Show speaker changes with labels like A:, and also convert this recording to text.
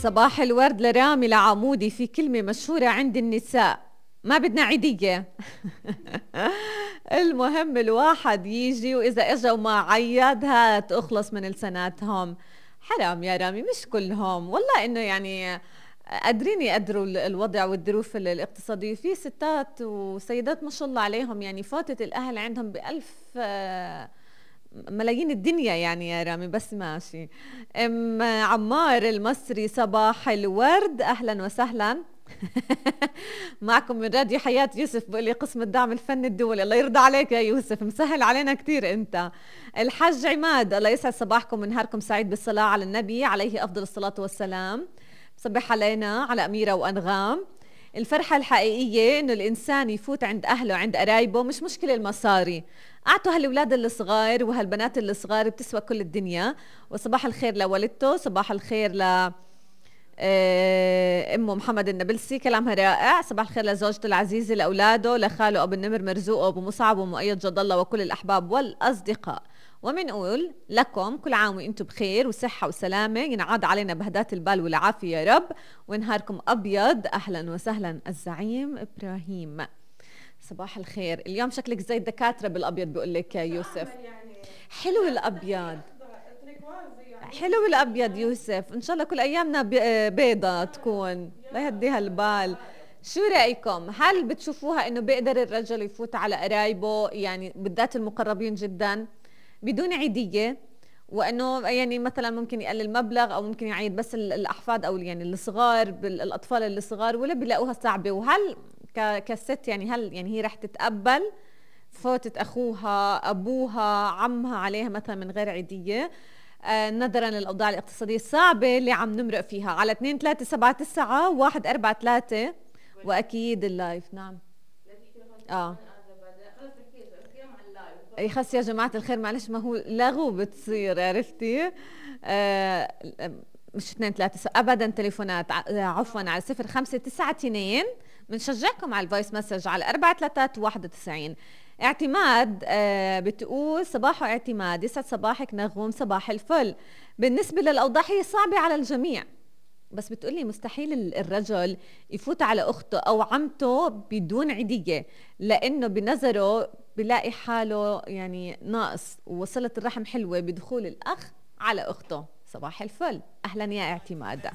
A: صباح الورد لرامي العمودي. في كلمة مشهورة عند النساء ما بدنا عيدية. المهم الواحد يجي وإذا إجا وما عيد هات أخلص من لساناتهم. حرام يا رامي، مش كلهم والله، إنه يعني قادرين يقدروا الوضع والظروف الاقتصادية. في ستات وسيدات ما شاء الله عليهم يعني فاتت الأهل عندهم بألف ملايين الدنيا يعني يا رامي، بس ماشي. ام عمار المصري صباح الورد، اهلا وسهلا. معكم من راديو حياة. يوسف بقول لي قسم الدعم الفني الدولي. الله يرضى عليك يا يوسف، مسهل علينا كتير انت. الحج عماد، الله يسعد صباحكم ونهاركم سعيد بالصلاة على النبي عليه افضل الصلاة والسلام. صبح علينا على أميرة وأنغام. الفرحة الحقيقية إنه الإنسان يفوت عند أهله عند قرايبه، مش مشكلة المصاري. أعطوا هالولاد الصغار وهالبنات الصغار بتسوى كل الدنيا. وصباح الخير لوالدته، صباح الخير ل أمه محمد النبلسي، كلامها رائع. صباح الخير لزوجته العزيزة، لأولاده، لخاله أبو النمر مرزوق وأبو مصعب ومؤيد جد الله وكل الأحباب والأصدقاء. ومنقول لكم كل عام وانتم بخير وصحة وسلامة، ينعاد علينا بهدات البال والعافية يا رب، ونهاركم أبيض. أهلا وسهلا الزعيم إبراهيم. صباح الخير. اليوم شكلك زي الدكاترة بالأبيض بيقول لك يا يوسف. حلو الأبيض، حلو الأبيض يوسف. إن شاء الله كل أيامنا بيضة تكون، لا يهديها البال. شو رأيكم؟ هل بتشوفوها إنه بيقدر الرجل يفوت على قرايبه يعني بالذات المقربين جدا بدون عيدية، وانه يعني مثلا ممكن يقلل مبلغ او ممكن يعيد بس الاحفاد او يعني الصغار الاطفال الصغار، ولا بيلاقوها صعبة؟ وهل كست يعني هل يعني هي رح تتقبل فوتة اخوها ابوها عمها عليها مثلا من غير عيدية نظرا للاوضاع الاقتصادية الصعبة اللي عم نمرق فيها؟ على 2-3-7-9-1-4-3 واكيد اللايف. نعم اي خلص يا جماعة الخير، معلش ما هو لغو بتصير، عرفتي؟ مش 2-3 ابدا تليفونات، عفوا، على 0592. بنشجعكم على الفويس مسج على 4-3-91. اعتماد بتقول صباحو اعتماد، يسعد صباحك نغوم، صباح الفل. بالنسبة للأوضاع هي صعبة على الجميع، بس بتقولي مستحيل الرجل يفوت على أخته أو عمته بدون عيدية، لأنه بنظره بلاقي حاله يعني ناقص، وصلة الرحم حلوة بدخول الأخ على أخته. صباح الفل، أهلا يا اعتماد.